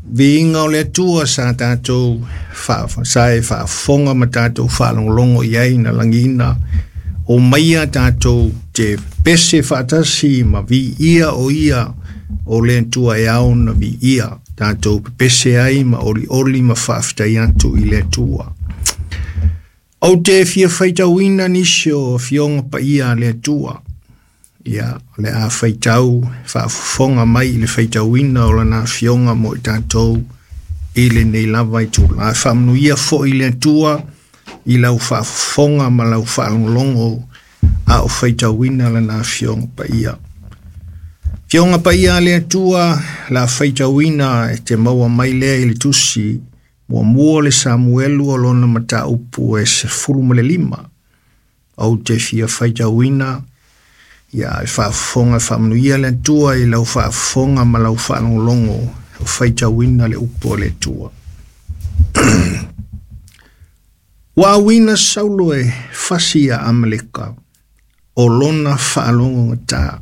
Viiga o le Atua sa tatou sa e faafofoga ma tatou faalogologo i ai na lagiina o maia tatou te pese faatasi ma viia o ia o le Atua e ao na viia tatou pepese ai ma olioli ma faafetai atu i le Atua. Ou te fia faitauina nisi o afioga paia a le Atua. Ia, o le a faitau faafofoga mai i le faitauina o lana afioga mo i tatou i lenei lava itula. Faamanuia foi le Atua i lau faafofoga ma lau faalogologo a o faitauina lana afioga paia. Afioga paia a le Atua, la faitauina e te maua mai lea i le tusi muamua o le Samuelu o lona mataupu e 15. Ou te fia faitauina ia e faafofoga e faamanuia le Atua i lau faafofoga ma lau faalogologo o faitauina le upu o le Atua. Ua auina Saulo e fasi ia Amaleka o lona faalogo gata.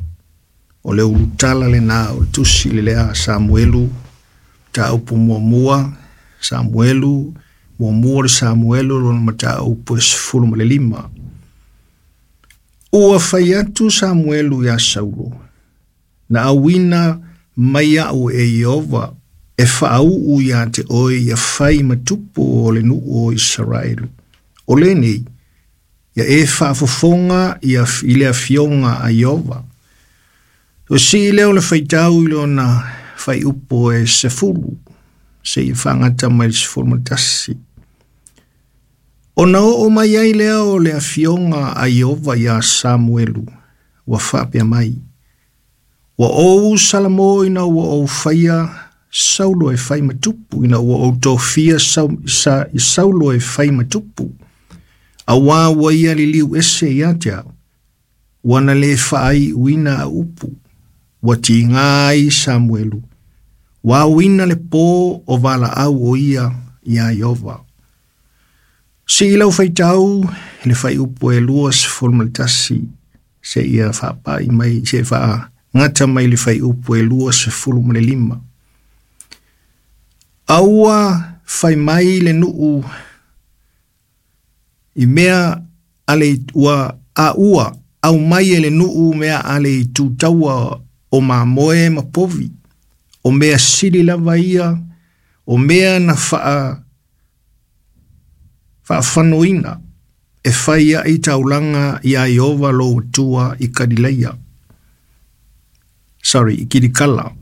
O le ulutala lena o le tusi le lea Samuelu, mataupu muamua, Samuelu, muamua o le Samuelu lona mataupu e 15. Ua fai atu Samuelu iā Saulo, na auina mai au e Ieova e faauu iā te oe ia fai ma tupu o le nuu o Isaraelu. O lenei, ia e faafofoga ia i le afioga a Ieova. O sii lea o le faitau i lona faiupu e 10, seia faagata mai le 11. Ona oo mai ai lea o le afioga a Ieova iā Samuelu, ua faapea mai, ua ou salamo ina ua ou faia Saulo e fai ma tupu, ina ua ou tofia Saulo e fai ma tupu, auā ua ia liliu ese ia te au, ua na le faaiuina a upu, ua tiga ai Samuelu, ua auina le pō o valaau o ia iā Ieova. Sii lau faitau i le faiupu e 21 seia faapai mai, se faagata mai le faiupu e 25. A ua fai mai le nuu i mea a le ua a ua aumai e le nuu mea a le itu taua o mamoe ma povi, o mea sili lava ia, o mea na faafanoina e fai ai taulaga iā Ieova lou Atua i Kalilaia. Sorry, i Kilikala.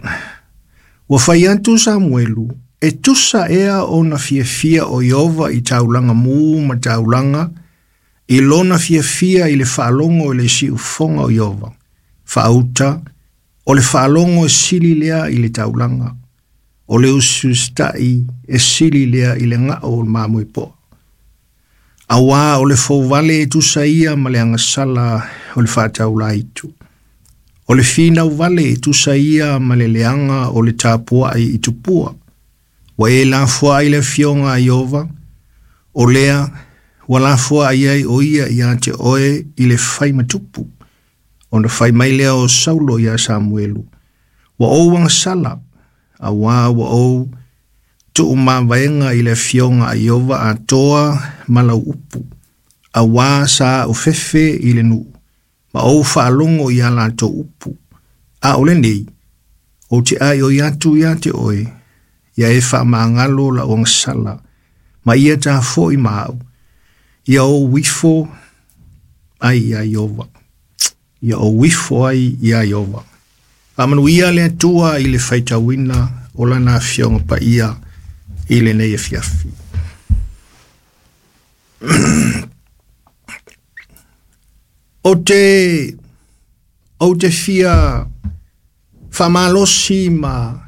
Ua fai atu Samuelu, e tusa ea ona fiafia o Ieova i taulaga mū ma taulaga, i lona fiafia i le faalogo i le siufofoga o Ieova. Faauta, o le faalogo e sili lea i le taulaga, o le usiusitai e sili lea i le gao o le mamoe poa. Auā o le fouvale e tusa ia ma le agasala o le faataulaitu. O le finau vale e tusa ia ma le leaga o le tapuai i tupua. Ua e lafoai le afioga a Ieova, o lea ua lafoai ai o ia ia te oe i le fai ma tupu. Ona fai mai lea o Saulo iā Samuelu, ua ou agasala, auā ua ou tuumavaega i le afioga a Ieova atoa ma lau upu, auā sa au fefe i le nuu, ma ou faalogo i a latou upu. A o lenei, ou te aioi atu ia te oe, ia e faamagalo lau agasala, ma ia tafo'i ma au, ia ou ifo ai iā Ieova. Ia ou ifo ai iā Ieova. Faamanuia le Atua i le faitauina o lana afioga paia i lenei afiafi. Ou te fia faamalosi ma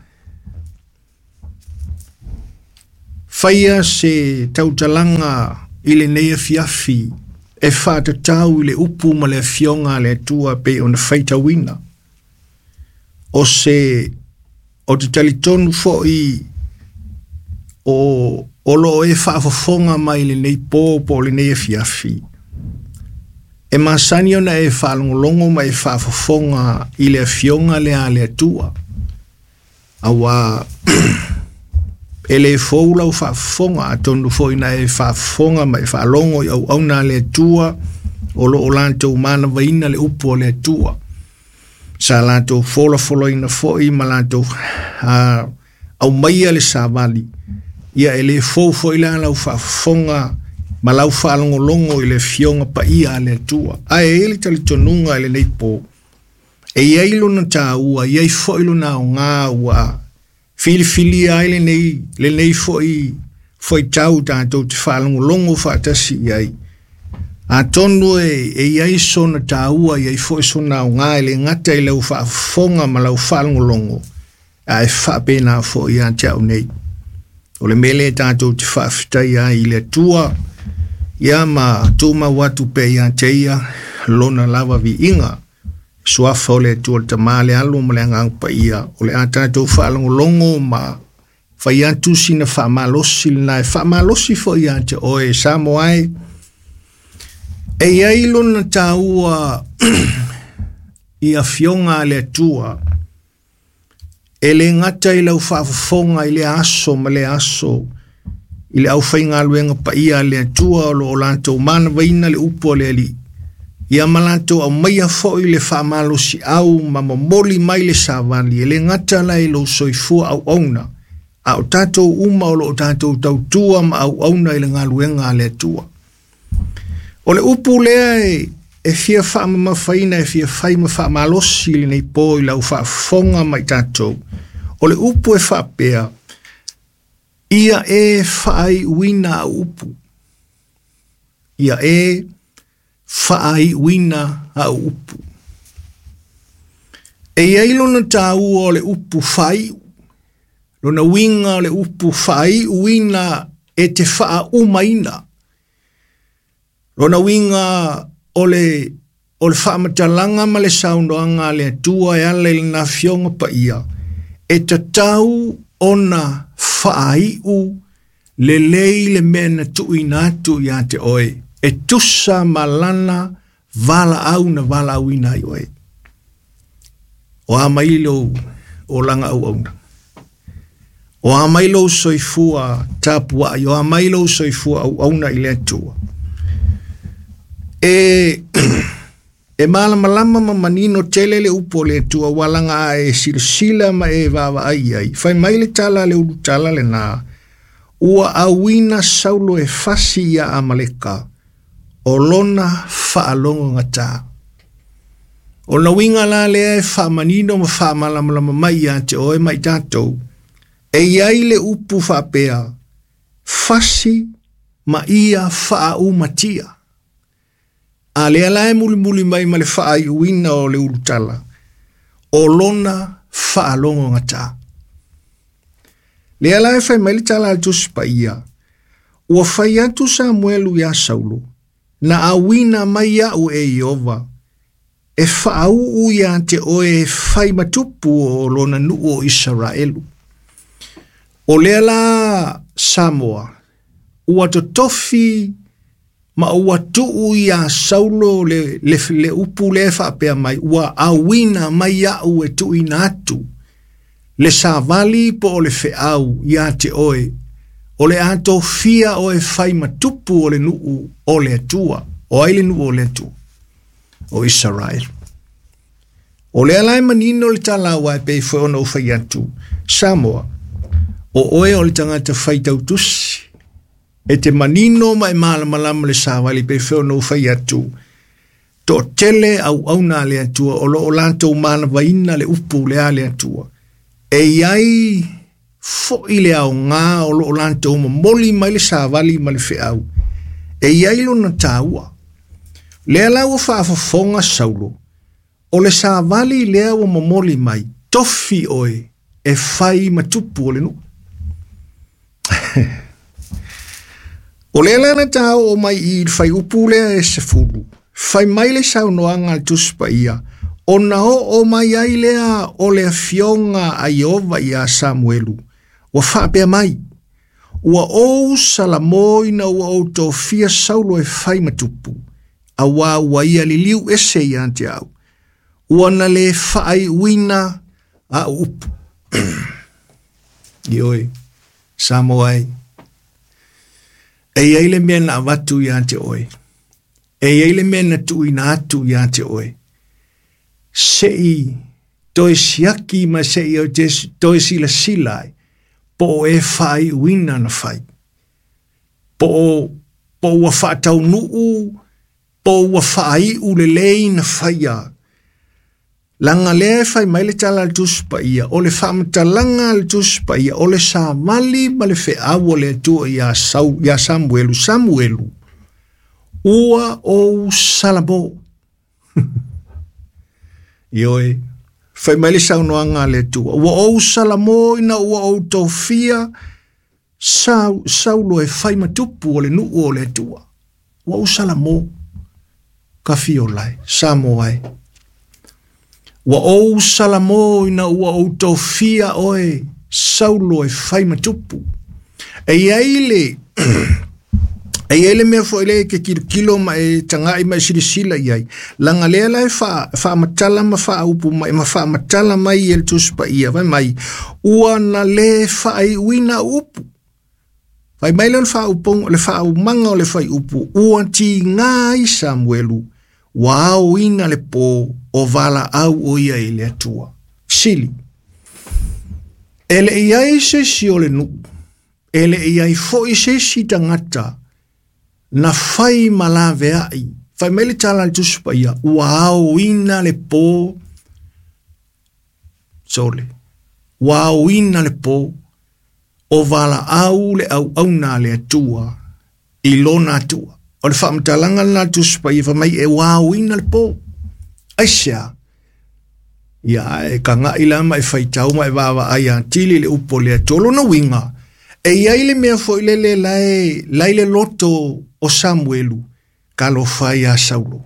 faia se tautalaga i lenei afiafi e faatatau i le upu ma le afioga a le Atua pei ona faitauina. O se o te talitonu foi o o lo o e faafofoga mai lenei pō po o lenei afiafi. E masani ona e faalogologo ma e faafofoga i le afioga lea a le Atua. Auā E le fou lau faafofoga, atonu foi na e faafofoga ma e faalogo i auauna a le Atua o lo o latou manavaina le upu a le Atua. Sa latou folafolaina foi ma latou aumaia le savali. Ia e le fou foi la lau faafofoga ma lau faalogologo i le afioga paia a le Atua. Ae e i ai le talitonuga i lenei po, e i ai lona taua, e i ai foi lona aoga ua filifilia ai lenei foi faitau tatou te faalogologo faatasi i ai. Atonu e i ai sona taua, e i ai foi sona aoga e le gata i lau faafofoga ma lau faalogologo, ae faapena foi ia te au nei. O le mea lea tatou te faafetaia ai i le Atua, ia ma tumau atu pea ia te ia lona lava viiga. Suafa o le Atua le Tama, le Alo ma le Agaga Paia, o le a tatou faalogologo ma fai atu sina faamalosi lena e faamalosi foi ia te oe Samoa e. E i ai lona taua i afioga a le Atua, e le gata i lau faafofoga i le aso ma le aso, i le aufaigaluega paia a le Atua o lo o latou manavaina le upu a le Alii, ia ma latou aumaia foi le faamalosiau ma momoli mai le savali, e le gata la i lou soifua auauna, a o tatou uma o lo o tatou tautua ma auauna i le galuega a le Atua. O le upu lea e fia faamamafaina, e fia fai ma faamalosi lenei po i lau faafofoga ma i tatou, o le upu e faapea, ia e faaiuina au upu. Ia e faaiuina au upu. E i ai lona taua o le upu faaiu, lona uiga o le upu faaiuina e te faaumaina. Lona uiga o le faamatalaga ma le saunoaga a le Atua e ala i lana afioga paia, e tatau ona faaiu lelei le mea na tuuina atu ia te oe, e tusa ma lana valaau na valaauina ai oe. O a mai lou olaga auauna, o a mai lou soifua tapuai, o a mai lou soifua auauna i le Atua. E malamalama ma manino tele le upu o le Atua, ua laga a e silasila ma e vaavaai ai. Fai mai le tala le ulutala lena, ua auina Saulo e fasi ia Amaleka, o lona faalogo gata. O na uiga la lea e faamanino ma faamalamalama mai ia te oe ma i tatou, e i ai le upu faapea, fasi ma ia faaumatia. A lea la e mulimuli mai ma le faaiuina o le ulutala, o lona faalogo gata. Lea la e fai mai le tala a le Tusi Paia, ua fai atu Samuelu ia Saulo, na auina mai au e Iova, e faauu ia te oe e fai matupu o lona nuu o Isaraelu. O lea la Samoa, ua totofi ma ua tuu ia Saulo le upu le faapea mai, ua auina mai au e tuuina atu le savali po o le feau ia te oe, o le a tofia oe fai matupu o le nuu o le Atua, o ai le nuu o le Atua, o Israel. O lea la e manino le tala ua e pei foi ona ou fai atu, Samoa, o oe o le tagata fai tautusi, e te manino ma e malamalama le savali pei foi ona ou fai atu, toatele auauna a le Atua, o lo o latou manavaina le upu le a le Atua. E i ai foi le aoga o lo o latou momoli mai le savali ma le feau, e i ai lona taua. Lea la ua faafofoga Saulo, o le savali lea ua momoli mai, tofi oe e fai matupu o le nuu. O lea la na tau o mai i le fai upu lea e 10, fai mai le saunoaga a le Tusi Paia, ona oo mai ai lea o le afioga a Iova ia Samuelu, ua faapea mai, ua ou salamoina ua ou tofia Saulo e fai matupu, auā ua ia liliu ese ia te au, ua na le faaiuina au upu. Ioe. Samoa e. E iai le mea na avatu ia te oe. E iai le mea na tuuina atu ia te oe. Se'i toe siaki ma se'i o te toe silasila ai, po o e faaiuina na fai. Po o ua faataunuu, po o ua faaiu lelei na faia. Laga lea e fai mai le tala a le Tusi Paia, o le faamatalaga a le Tusi Paia, o le savali ma le feau o le Atua ia Samuelu, Samuelu, ua ou salamo. Ioe, fai mai le saunoaga a le Atua, ua ou salamo ina ua ou tofia Saulo e fai matupu o le nuu o le Atua. Ua ou salamo, kafiolai, Samoa e. Ua ou salamo ina ua ou tofia oe Saulo e fai matupu. E iai le e iai le mea foi le ke kilokilo ma e tagai ma e silasila i ai. Laga lea la e faamatala ma faaupu mai ma faamatala mai e le Tusi Paia fai mai ua na le faaiuina upu. Fai mai le faauponga le faaumaga o le faiupu ua tiga ai Samuelu ua aoina le po o valaau o ia i le Atua. Sili, e le iai se isi o le nuu, e le iai foi se isi tagata na fai ma laveai. Fai mai le tala a le Tusi Paia, ua aoina le po, sole, ua aoina le po o valaau le auauna a le Atua i lona Atua. O le faamatalaga lena a le Tusi Paia fai mai e ua aoina le po. Aisea? Ia e kaga'i la ma e faitau ma e vaavaai atili le upu o le Atua. Lona uiga, e iai le mea foi lele lae le loto o Samuelu, talofa ia Saulo.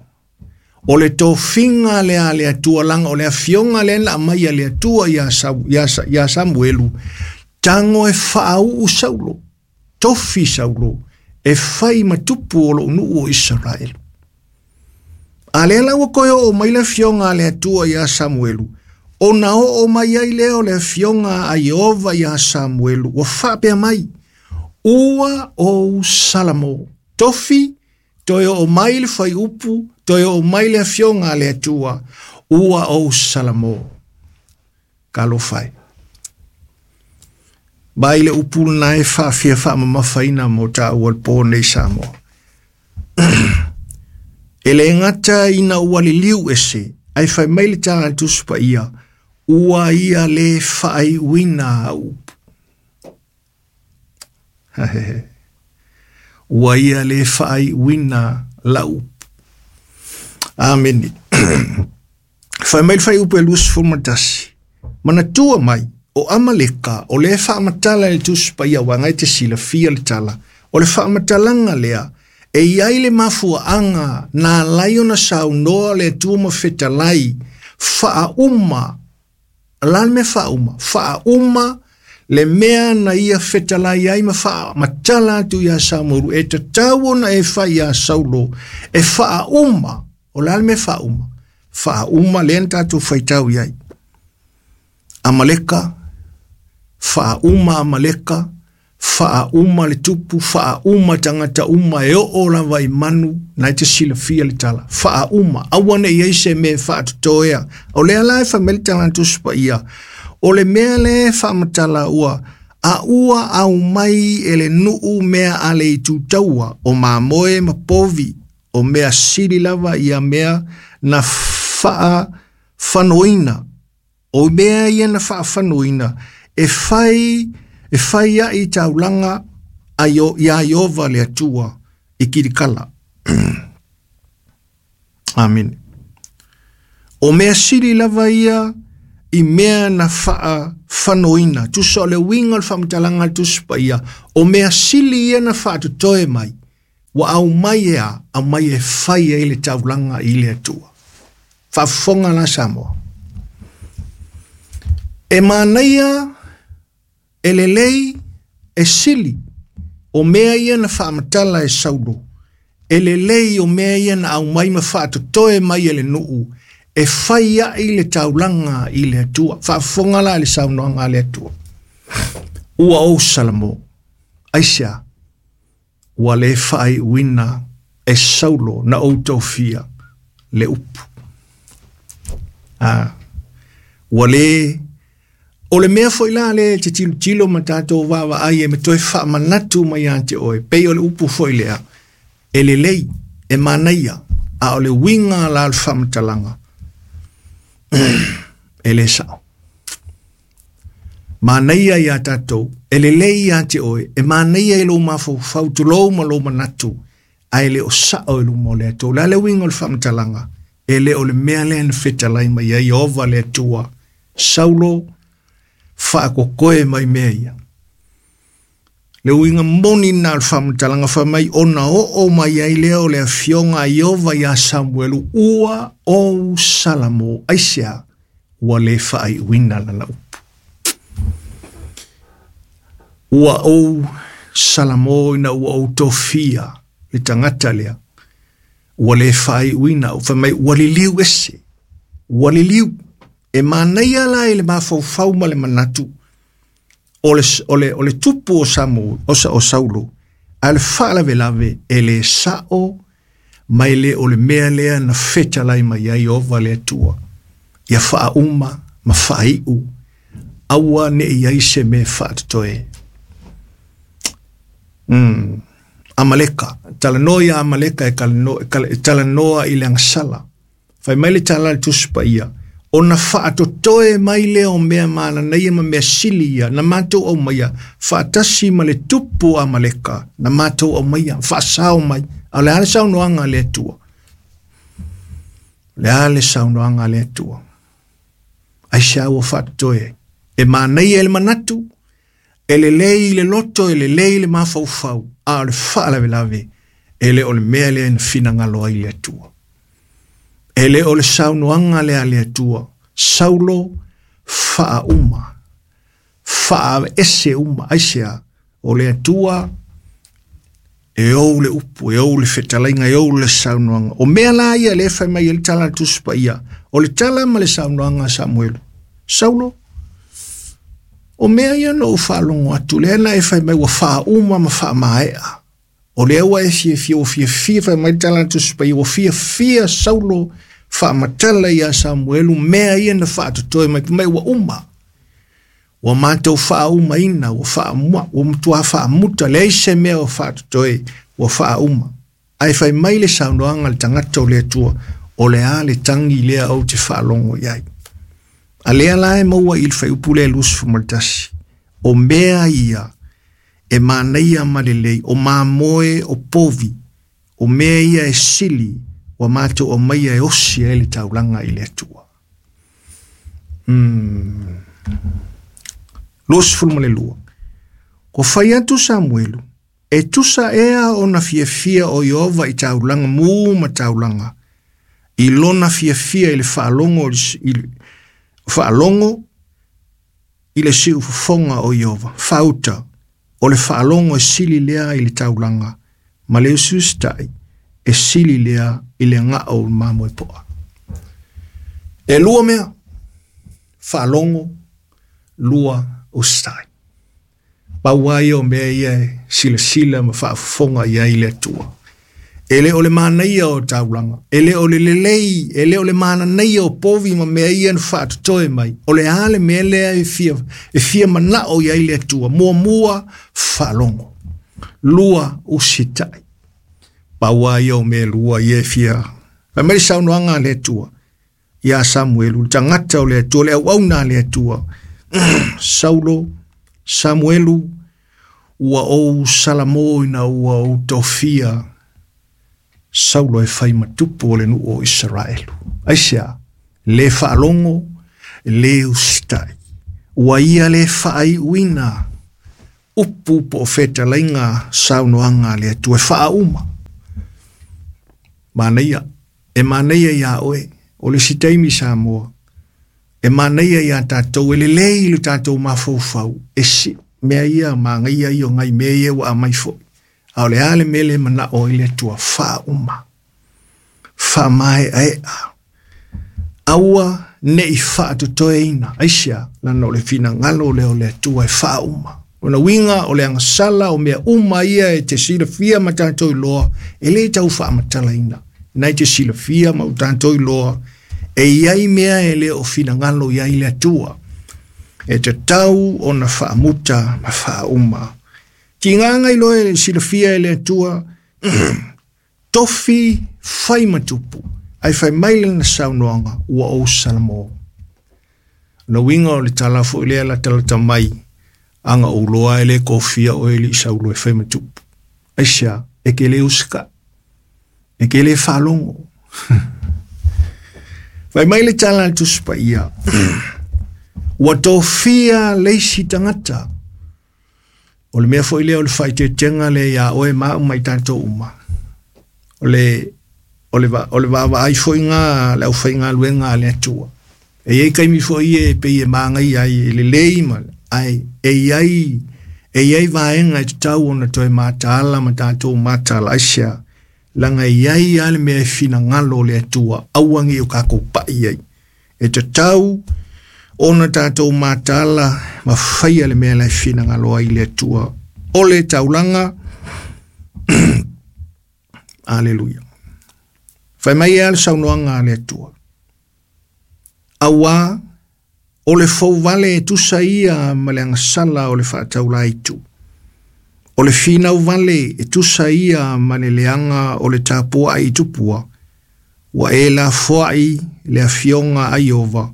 O le tofiga lea a le Atua, laga o le afioga lea na aumai a le Atua ia Samuelu, tago e faauu Saulo, tofi Saulo, e fai matupu o lou nuu o Isaraelu. A lea la ua toe oo mai le afioga a le Atua ia Samuelu, ona oo mai ai lea o le afioga a Ieova ia Samuelu, ua faapea mai, ua ou salamo, tofi, toe oo mai le faiupu, toe oo mai le afioga a le Atua, ua ou salamo. Talofa e. Mai le upu lena e faafia faamamafaina mo taua le po nei Samoa. E le gata ina ua liliu ese, ae fai mai le tala a le Tusi Paia, ua ia le faaiuina au upu. Ua ia le faaiuina lau upu. Amene. Fai mai le faiupu e 21. Manatua mai, o Amaleka, o le faamatala e le Tusi Paia uaga e te silafia le tala, o le faamatalaga lea, e iai le mafuaaga na alai ona saunoa le Atua ma fetalai, faauma, la le mea faauma, faauma le mea na ia fetalai ai ma faamatala atu ia Samuelu, e tatau ona e fai ia Saulo, e faauma, o la le mea faauma, faauma lea na tatou faitau i ai. Amaleka, faauma Amaleka, faauma le tupu, faauma tagata uma e oo lava i manu, na e te silafia le tala. Faauma, aua ne i ai se mea e faatotoea. O lea la e fai mai le tala a le Tusi Paia, o le mea lea e faamatala ua a ua aumai e le nuu mea a le itutaua, o mamoe ma povi, o mea sili lava ia mea na faafanoina. O mea ia na faafanoina, e fai ai taulaga ia Ieova le Atua i Kilikala. Amene. O mea sili lava ia i mea na faafanoina. Tusa o le uiga o le faamatalaga a le Tusi Paia, o mea sili ia na faatotoe mai, ua aumai e a, aumai e fai ai le taulaga i le Atua. Faafofoga la Samoa. E manaia, e lelei, e sili, o mea ia na faamatala e Saulo, e lelei o mea ia na aumai ma faatotoe mai e le nuu, e fai ai le taulaga i le Atua. Faafofoga la le saunoaga a le Atua. Ua ou Salamo, aisea, ua le faaiuina e Saulo na ou tofia le upu. Ua le o le mea foi la le te tilotilo ma tatou vaavaai e me toe faamanatu mai ia te oe, pei o le upu foi lea, e lelei, e manaia, a o le uiga la o le faamatalaga, e le sao. Manaia ia tatou, e lelei ia te oe, e manaia i lou mafaufau, tulou ma lou manatu, ae le o sao i luma o le Atua. O le a le uiga o le faamatalaga? E le o le mea lea na fetalai mai ai Ieova le Atua, Saulo, faakokoe mai mea ia. Le uiga moni na o le faamatalaga fai mai, ona oo mai ai lea o le afioga a Ieova ia Samuelu, ua ou Salamo, aisea, ua le faaiuina lana upu. Ua ou Salamo ina ua ou tofia le tagata lea, ua le faaiuina, fai mai ua liliu ese, ua liliu. E manaia la i le mafaufau ma le manatu o le tupu o Samu, o Saulo, a le faalavelave e le sao mai le o le mea lea na fetalai mai ai Ieova le Atua, ia faauma ma faaiu, aua ne i ai se mea faatotoe. Amaleka, talanoa ia Amaleka e talanoa i le agasala. Fai mai le tala le Tusi Paia, ona faatotoe mai lea o mea mananaia ma mea sili ia, na matou aumaia, faatasi ma le tupu Amaleka, na matou aumaia, faasao mai. A o le a le saunoaga a le Atua? O le a le saunoaga a le Atua? Aisea ua faatotoe? E manaia i le manatu, e lelei i le loto, e lelei i le mafaufau, a o le faalavelave, e le o le mea lea na finagalo ai le Atua. E le o le saunoaga lea a le Atua, Saulo faauma, faaese uma, aisea, o le Atua e ou le upu, e ou le fetalaiga, e ou le saunoaga. O mea la ia le fai mai e le tala a le Tusi Paia, o le tala ma le saunoaga a Samuelu, Saulo, o mea ia na ou faalogo atu, lea na e fai mai ua faauma ma faamaea. O lea ua e fiafia, ua fiafia, fai mai le tala a le Tusi Paia, ua fiafia Saulo faamatala ia Samuelu, mea ia na faatotoe mai, mai ua uma. Ua matou faaumaina, ua matua faamuta, leai se mea ua faatotoe, ua faauma. Ae fai mai le saunoaga a le tagata o le Atua, o le a le tagi lea ou te faalogo i ai. A lea la e maua i le fuaiupu lea 21, o mea ia e manaia ma lelei, o mamoe o povi, o mea ia e sili, ua matou aumaia e osi ai le taulaga i le Atua. 22. Ko fai atu Samuelu, e tusa ea ona fiafia o Ieova i taulaga mu ma taulaga, i lona fiafia i le faalogo i le siufofoga o Ieova, fauta, o le faalogo e sili lea i le taulaga, ma le usiusitai e sili lea i le gao o le mamoe poa. E lua mea, faalogo, lua usitai. Pau ai o mea ia e silasila ma faafofoga i ai le Atua. E le o le manaia o taulaga, e le o le lelei, e le o le mananaia o povi ma mea ia na faatotoe mai. O le a le mea lea e fia manao i ai le Atua. Muamua, faalogo. Lua, usitai. Pau ai o mea lua ia e fia. Fai mai le saunoaga a le Atua ia Samuelu, le tagata o le Atua, le auauna a le Atua. Saulo, Samuelu, ua ou Salamo ina ua ou tofia Saulo e fai matupu o le nuu o Israelu. Aisea, le faalogo, le usitai. Ua ia le faaiuina upu po o fetalaiga saunoaga a le Atua e faauma. Manaia, e manaia ia oe, o le isi taimi Samoa, e manaia ia tatou, e lelei le tatou mafaufau, e si mea ia magaia ia o ngai mea ia ua aumai foi. A o le a le mea le manao i le Atua, faauma, faamaeaea, aua ne i faatotoeina, aisea, lana o le finagalo lea o le Atua e faauma. Ona uiga o le agasala o mea uma ia e te silafia ma tatou iloa, e lē tau faamatalaina. Na e te silafia ma o tatou iloa, e iai mea e lē o finagalo i ai le Atua. E tatau ona faamuta ma faauma. Tigaga iloa e silafia e le Atua, tofi fai ma tupu, ae fai mai lana saunoaga, ua ou salamo. Na uiga o le tala foi lea latalata mai, aga ou loa e le kofia o e li saulo e fai ma tupu. Aisea, e ke le usika, e ke le faalogo. Fai mai le tala a le Tusi Paia, ua tofia le isi tagata. O le mea foi lea o le faaeteetega lea iā oe ma au ma i tatou uma. O le vaavaai foi ngā le aufaigaluega a le Atua. E iai taimi foi ia e pei e magaia ai e lelei ma ai e iai vaega e tatau ona toe mataala ma tatou mataala. Aisea, laga e iai lava le mea e finagalo o le Atua, aua ne i o tatou pai ai. E tatau ona tatou mataala ma faia le mea la e finagalo ai le Atua. O le taulaga, aleluia. Fai mai ea le saunoaga a le Atua. Auā, o le fouvale e tusa ia ma le agasala o le faataulaitu. O le finau vale e tusa ia ma le leaga o le tapuai i tupua. Ua e lafoai le afioga a Ieova,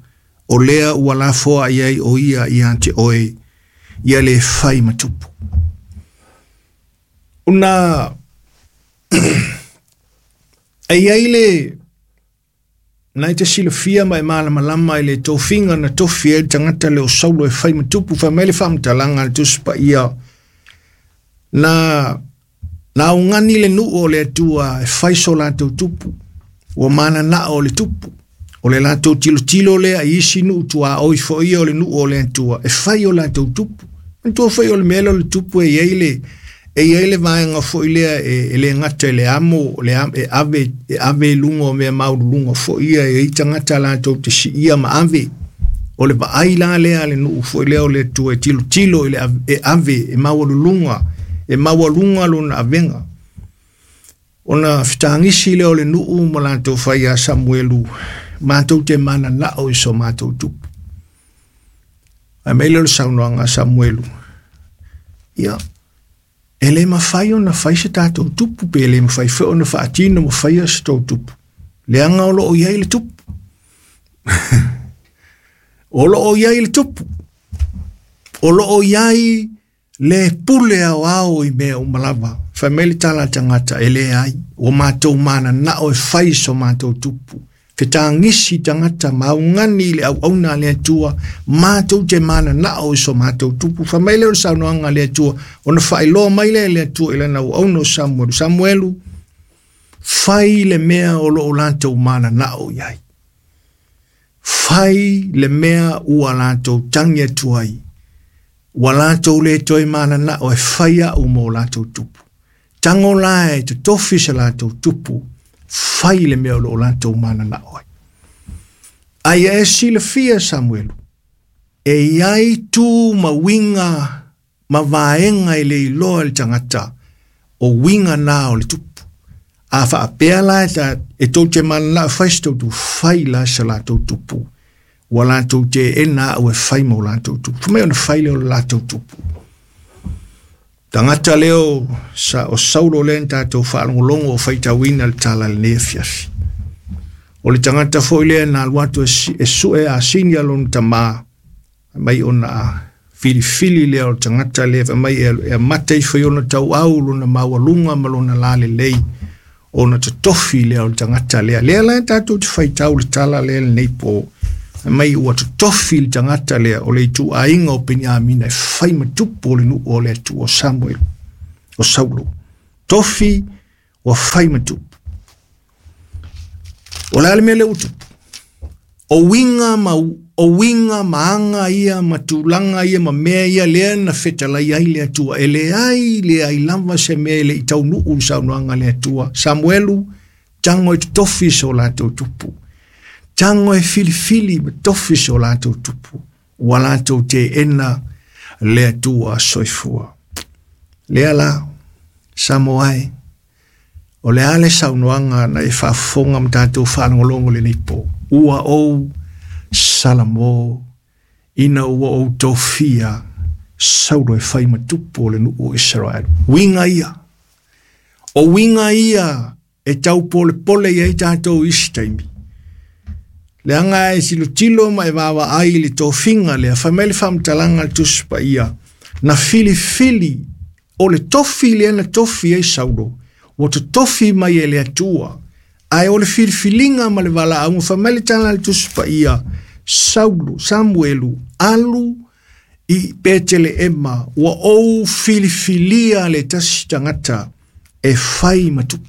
o lea ua lafoai ai o ia ia te oe, ia le fai ma tupu. Una e iai le na e te silafia ma e malamalama i le tofiga na tofi ai le tagata le o Saulo e fai ma tupu. Fai mai le faamatalaga a le Tusi Paia, na augani le nuu o le Atua e fai so latou tupu, ua mananao o le tupu. O le latou tilotilo lea i isi nuu tuaoi foi ia o le nuu o le Atua e fai o latou tupu. Manatua foi o le mea lea o le tupu e iai le vaega foi lea e le gata i le amo, e ave i luga o mea maululuga foi ia e iai tagata latou te siia ma ave. O le vaai la lea a le nuu foi lea o le Atua e tilotilo i le e ave, e maualuga lona avega. Ona fetagisi lea o le nuu ma latou fai ia Samuelu, matou te mananao i so matou tupu. Ae mai lea o le saunoaga a Samuelu, ia, e le mafai ona fai se tatou tupu, pe le mafai foi ona faatino ma faia se tou tupu. Leaga o loo i ai le tupu. O loo i ai le tupu. O loo i ai le pule aoao i mea uma lava. Fai mai le tala a tagata, e leai, ua matou mananao e fai so matou tupu. Fetagisi tagata maugani i le auauna a le Atua, matou te mananao i so matou tupu. Fai mai lea o le saunoaga a le Atua, ona faailoa mai lea e le Atua i lana auauna o Samuelu. Samuelu, fai le mea o loo latou mananao i ai. Fai le mea ua latou tagi atu ai. Ua latou le toe mananao e fai au mo latou tupu. Tango la e totofi se latou tupu, fai le mea o loo latou mananao ai. Ai e silafia Samuelu, e iai tu ma uiga ma vaega e le iloa le tagata, o uiga na o le tupu. A faapea la e tou te mananao e fai se tou tupu, fai la se latou tupu. Ua latou te ena au e fai mo latou tupu. Fai mai ona fai lea o le latou tupu. Tagata leo o Saulo lea na tatou faalogologo o faitauina le tala lenei afiafi. O le tagata foi lea na alu atu e sue asini a lona tamā, mai ona filifili lea o le tagata lea, fai mai e amata ifo i ona tauau lona maualuga ma lona lalelei, ona totofi lea o le tagata lea. Lea la tatou te faitau le tala lea lenei po, mai ua totofi le tagata lea o le ituaiga o Peniamina e fai ma tupu o le nuu o le Atua o Samuel, o Saulo. Tofi ua fai ma tupu. O le a le mea lea ua tupu? O uiga ma aga ia ma tulaga ia ma mea ia lea na fetalai ai le Atua. E leai lava se mea e le i taunuu le saunoaga a le Atua. Samuelu, tango e totofi so latou tupu. Tango e filifili ma tofi so latou tupu. Ua latou te ena Le Atua soifua. Lea la, Samoa e, o le a le saunoaga na e faafofoga ma tatou faalogologo lenei po. Ua ou salamo ina ua ou tofia Saulo e fai ma tupu o le nuu o Isaraelu. Uiga ia. O uiga ia e taupolepole i ai tatou i isi taimi. Leaga e tilotilo ma e vaavaai i le tofiga lea, fai mai le faamatalaga a le Tusi Paia, na filifili o le tofi lea na tofi ai Saulo, ua totofi mai e le Atua, ae o le filifiliga ma le valaauga, fai mai le tala a le Tusi Paia, Saulo, Samuelu, alu i Peteleema, ua ou filifilia le tasi tagata e fai ma tupu.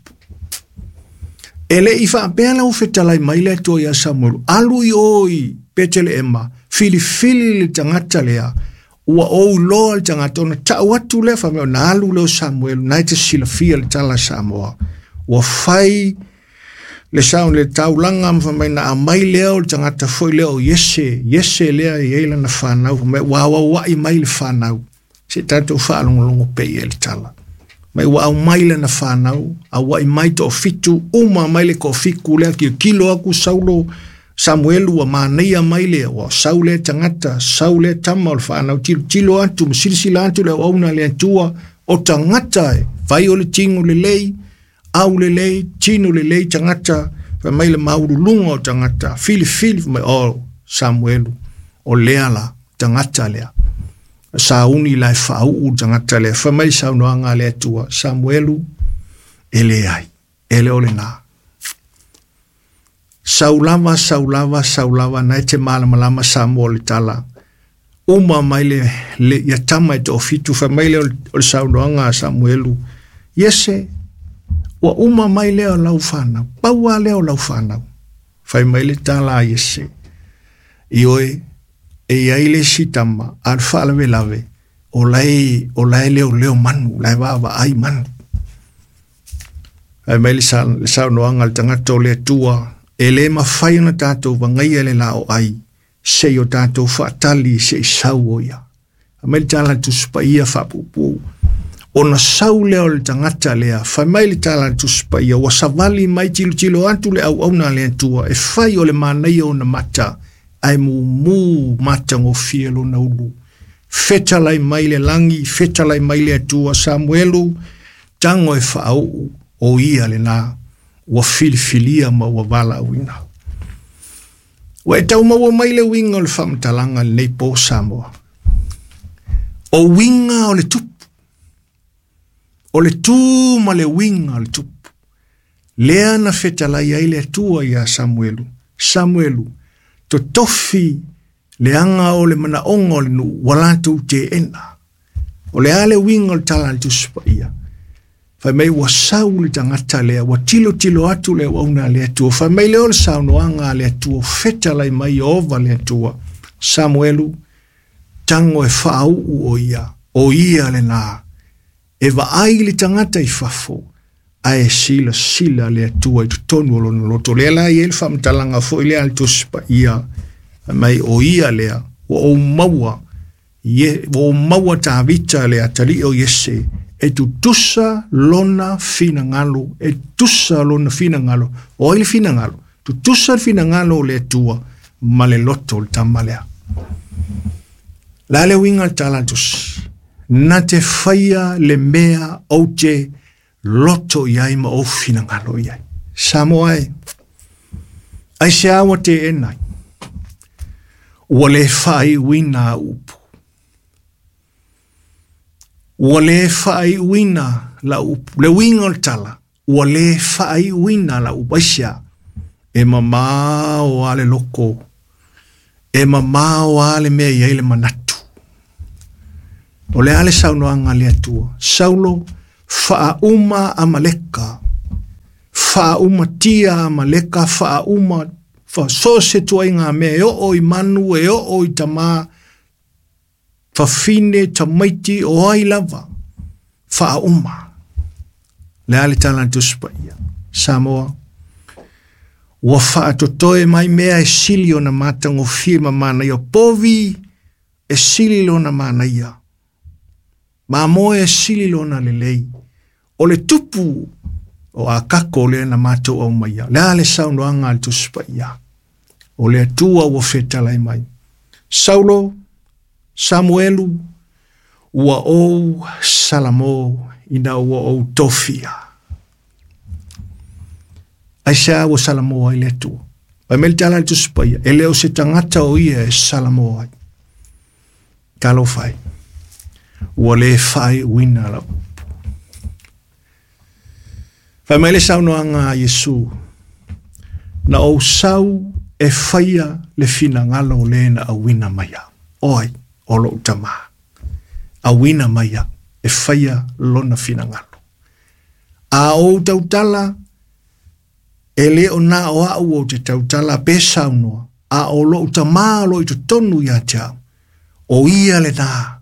E le i faapea la ua fetalai mai le Atua ia Samuelu, alu i o i Peteleema, filifili le tagata lea, ua ou iloa le tagata, ona tau atu lea, fai mai ona alu lea o Samuelu, na e te silafia le tala a Samoa. Ua fai le sao le taulaga ma fai mai na aumai lea o le tagata foi lea o Iese, Iese lea e i ai lana fanau, fai mai ua auauai mai le fanau, se i tatou faalogologo pea i ai le tala. Mai ua aumai lana fanau, auai mai toafitu, uma mai le toafitu lea, tilotilo atu Saulo, Samuelu ua manaia mai le, ua sau lea tagata, sau lea tama o le fanau, tilotilo atu, ma silasila atu le auauna a le Atua, o tagata e fai o le tino lelei, au lelei, tino lelei tagata, fai mai le maululuga o tagata, filifili, fai mai, o Samuelu, o lea la, tagata lea. Sauni la e faauu le tagata lea, fai mai le saunoaga a le Atua, Samuelu, e leai, e le o lena. Sau lava, sau lava, sau lava, na e te malamalama Samoa o le tala. Uma mai le, le ia tama e toafitu, fai mai lea o le saunoaga a Samuelu, Iese, ua uma mai lea o lau fanau, pau lava lea o lau fanau. Fai mai le tala a Iese, Ioe, e i ai le isi tama, a le faalavelave, o la e, o la e leoleo manu, la e vaavaai manu. Fai mai le saunoaga a le tagata o le Atua, e le mafai ona tatou vagaia le la o ai, se i o tatou faatali se i sau o ia. Fai mai le tala a le Tusi Paia faapuupuu, ona sau lea o le tagata lea, fai mai le tala a le Tusi Paia, ua savali mai tilotilo atu le auauna a le Atua, e fai o le manaia ona mata, ae mumu matagofie lona ulu. Fetalai mai le lagi, fetalai mai le Atua, Samuelu, tago e faauu, o ia lena, ua filifilia ma ua valaauina. Ua e tau maua mai le uiga o le faamatalaga i lenei po Samoa. O uiga o le tupu, o le tu ma le uiga o le tupu, lea na fetalai ai le Atua ia Samuelu, Samuelu, totofi leaga o le manaoga o le nuu ua latou teena. O le a le uiga o le tala a le Tusi Paia? Fai mai ua sau le tagata lea, ua tilotilo atu le auauna a le Atua. Fai mai lea o le saunoaga a le Atua, fetalai mai Ieova le Atua, Samuelu, tago e faauu o ia, o ia lena, e vaai le tagata i fafo, ae silasila le Atua i totonu o lona loto. Lea la e i ai le faamatalaga foi lea a le Tusi Paia, fai mai o ia lea, ua ou maua, ua ou maua Tavita le atalii o Iese, e tutusa lona finagalo, e tutusa lona finagalo. O ai le finagalo? Tutusa le finagalo o le Atua ma le loto o le tama lea. La le uiga o le tala a le Tusi, na te faia le mea ou te loto i ai ma ou finagalo i ai. Samoa e, aisea ua teena ai? Ua le faaiuina au upu. Ua le faaiuina lau upu. Le uiga o le tala, ua le faaiuina lau upu. Aisea? E mamao lava le loko, e mamao lava le mea e i ai le manatu. O le a le saunoaga a le Atua? Saulo, faauma Amaleka, faaumatia Amaleka, faauma, so o se ituaiga mea e oo i manu, e oo i tama, fafine, tamaiti, o ai lava, faauma. Le a le tala a le Tusi Paia? Samoa, ua faatotoe mai mea e sili ona matagofie ma manaia, povi e sili lona manaia. Mamoe e sili lona lelei. O le tupu o Akako lea na matou aumaia. Le a le saunoaga a le Tusi Paia? O le Atua ua fetalai mai. Saulo, Samuelu, ua ou salamo ina ua ou tofia. Aisea ua salamo ai le Atua? Fai mai le tala a le Tusi Paia, e le o se tagata o ia e salamo ai. Talofa e, ua le faaiuina lau upu. Fai mai le saunoaga a Iesu, na ou sau e faia le finagalo o le na auina mai au. O ai? O lou Tamā. Auina mai au e faia lona finagalo. A ou tautala, e le o na o au ou te tautala pe saunoa, a o lou Tamā o lo o i totonu ia te au. O ia lena,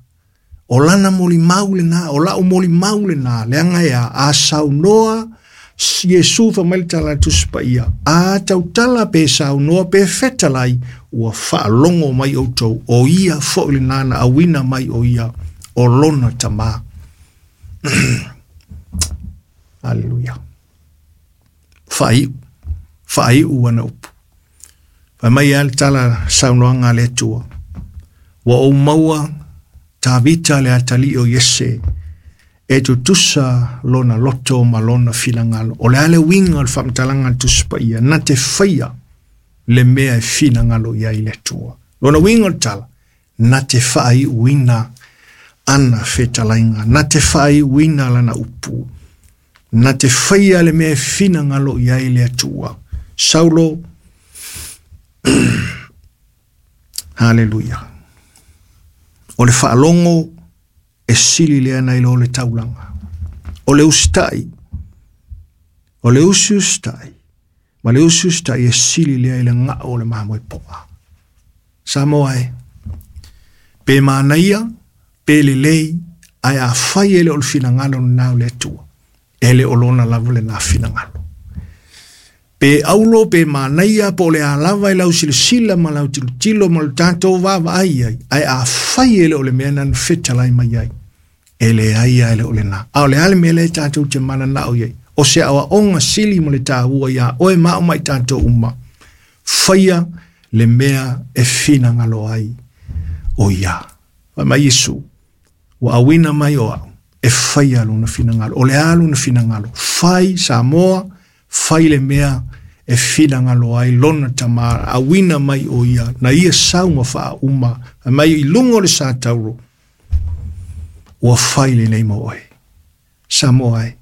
o lana molimau lena, o lau molimau lena, leaga e a, a saunoa Iesu fai mai le tala a le Tusi Paia, a tautala pe saunoa pe fetalai, ua faalogo mai outou, o ia foi lena na auina mai o ia, o lona Tamā. Aleluia. Faaiu, faaiu ana upu. Fai mai lava le tala saunoaga a le Atua, ua ou maua Tavita le atalii o Iese, e tutusa lona loto ma lona finagalo. O le a le uiga o le faamatalaga a le Tusi Paia, na te faia le mea e finagalo i ai le Atua. Lona uiga o le tala, na te faaiuina ana fetalaiga, na te faaiuina lana upu, na te faia le mea e finagalo i ai le Atua. Saulo, haleluia. O le faalogo e sili lea nai lo le taulaga. O le usitai, o le usiusitai, ma le usiusitai e sili lea i le gao o le mamoe poa. Samoa e, pe manaia, pe lelei, ae afai e le o le finagalo lena o le Atua, e le o lona lava lena finagalo. Pe aulo, pe manaia, po o le a lava i lau silasila ma lau tilotilo ma le tatou vaavaai ai, ae afai e le o le mea na na fetalai mai ai, e leai lava e le o lena. A o le a le mea lea tatou te mananao i ai? O se aoaoga sili ma le taua iā oe ma au ma i tatou uma, faia le mea e finagalo ai o ia. Fai mai Iesu, ua auina mai o au e faia lona finagalo. O le a lona finagalo? Fai Samoa, fai le mea e finagalo ai lona Tamā, auina mai o ia, na ia sau ma faauma, fai mai i luga o le sa tauro, ua fai lenei mo oe. Samoa e,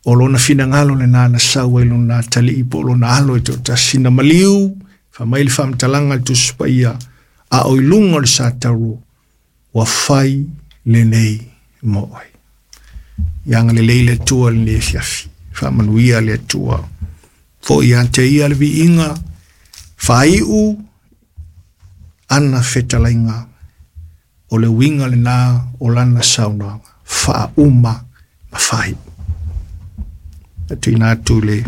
o lona finagalo lena na sau ai lona atalii po o lona alo e toatasi na maliu, fai mai le faamatalaga a le Tusi Paia, a o i luga o le sa tauro, ua fai lenei mo oe. Ia agalelei le Atua i lenei afiafi. Faamanuia le Atua. Foi ia te ia le viiga, faaiu ana fetalaiga, o le uiga lena o lana saunoaga, faauma ma faaiu. E tuuina atu le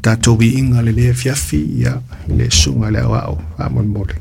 tatou viiga lenei afiafi, ia, i le susuga i le Aoao, faamolemole.